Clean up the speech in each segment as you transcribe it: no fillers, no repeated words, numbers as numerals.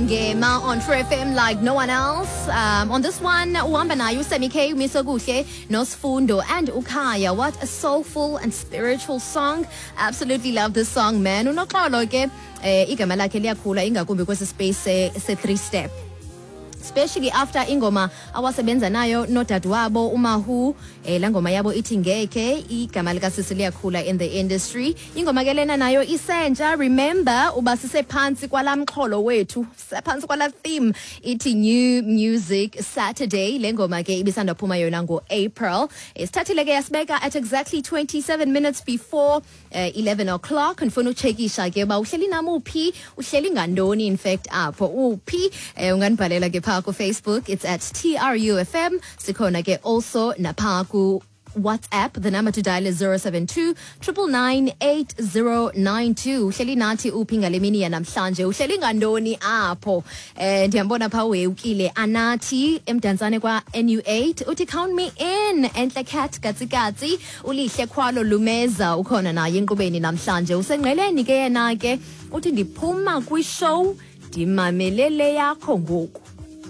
Ngema on True FM like no one else. On this one, uhamba naye uSammy K, uMisokuhle, noSfundo and uKhaya. What a soulful and spiritual song. Absolutely love this song, man. Unoxolo ke igama lakhe liyakhula ingakumbi kwesi space se three step. Especially after ingoma awasebenza nayo nodadewabo uMahu, laa ngoma yabo ithi Ngekhe. Igama likasisi liyakhula in the industry. Ingoma ke lena nayo isentsha. Remember uba sisephantsi kwalaa mxholo wethu, sisephantsi kwalaa theme ithi New Music Saturday. Le ngoma ke ibisandaphuma yona ngo-April. Sithathile ke yasibeka at exactly 27 minutes before 11 o'clock. Ndifuna utshekisha ke uba uhleli nam uphi, uhleli ngantoni, in fact apho uphi. Unganibhalela ke phaa kuFacebook, it's at TRUFM. Sikhona ke also naphaa ku WhatsApp. The number to dial is 072 999 8092. Uhleli nathi uphi ngale mini yanamhlanje? Uhleli ngantoni apho? Ndiyambona phaa wewukile Anathi eMdantsane kwa NU8, uthi count me in. Entle Cat Katsikatsi, uLihle Khwalo Lumeza ukhona naye enkqubeni namhlanje. Usengqeleni ke yena ke, uthi ndiphuma kwishow ndimamelele yakho ngoku.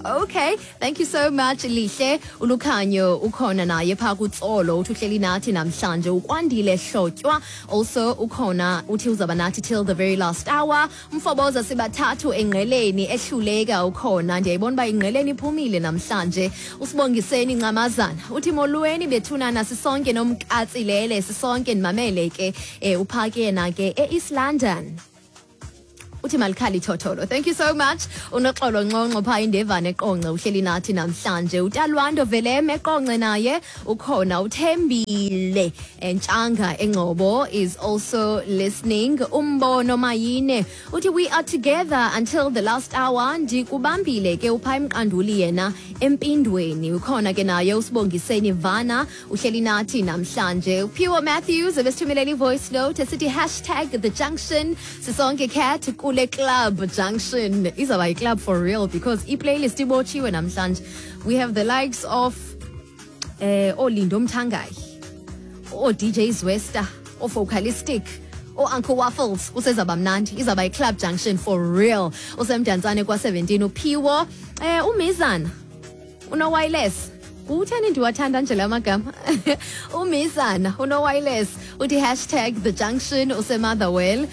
Okay, thank you so much, Lihle. Ulukhanyo ukhona naye phaa kuTsolo, uthi uhleli nathi namhlanje. Ukwandile Hlotywa also ukhona, uthi uzaba nathi till the very last hour. Umfoboza sibathathu engqeleni ehluleka ukhona. Ndiyayibona uba ingqeleni iphumile namhlanje. Usibongiseni Ncamazana uthi molweni bethunana, sisonke nomkatsilele, sisonke ndimamele ke. Uphake yena ke e-East London, uthi malikhali thotholo. Thank you so much. Unoxolo Nxonxo phaa iNdevane eQonce, uhleli nathi namhlanje. Utalwando Velem eQonce naye ukhona. Uthembile Ntshanga eNgcobo is also listening. Umbono Mayine uthi we are together until the last hour, ndikubambile ke. Uphaa eMqanduli yena, eMpindweni, ukhona ke naye. Usibongiseni Vana uhleli nathi namhlanje. Uphiwo Matthews ebesithumelela i-voice note esithi #TheJunction, sisonke cat kule Club Junction. Izawuba yi-club for real because i-playlist ibotshiwe namhlanje. We have the likes of ooLindo Mthangayi, oo-DJ Zwesta, oo-Focalistic, oo-Uncle Waffles. Usezaba mnandi, izawuba yi-Club Junction for real. UseMdantsane kwa-17 uphiwo. Umizana uno-wireless, utheni ndiwathanda nje la magama? Umizana uno-wireless uthi #TheJunction, useMotherwell,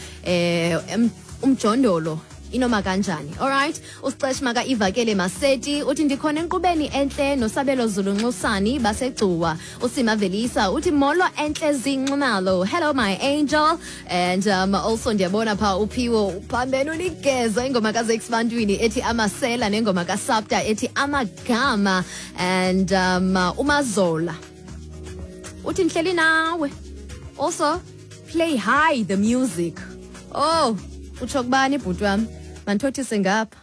umjondolo inoma kanjani. Alright, uSicesh maka ivakele Maseti uthi ndikhona enkqubeni entle noSabelo Zulu Nxusani baseGcuwa. Usima Velisa uthi molo Entle Zinxumalo, hello my angel. And also ndiyabona pha uphiwo uphambene uligeza ingoma kaZakes Bantwini ethi Amasela nengoma kaSapta ethi Amagama. And uMazola uthi ndihleli nawe, also play high the music. Oh, utsho kubani bhuti wam? Mandithothise ngapha,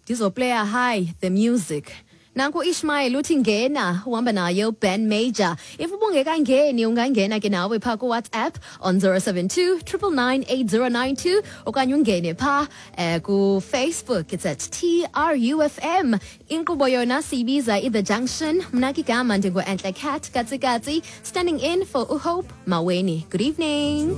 ndizoplaya high the music. Nanku Ishmael uthi ngena, uhamba naye uBen Major. If ubungekangeni, ungangena ke nawe phaa kuWhatsApp on 072 999 8092 okanye ungene phaa kuFacebook, it's at TRUFM. Inkqubo yona siyibiza i-The Junction. Mna ke igama ndingu-Entle Cat Katsikatsi, standing in for uHope Maweni. Good evening.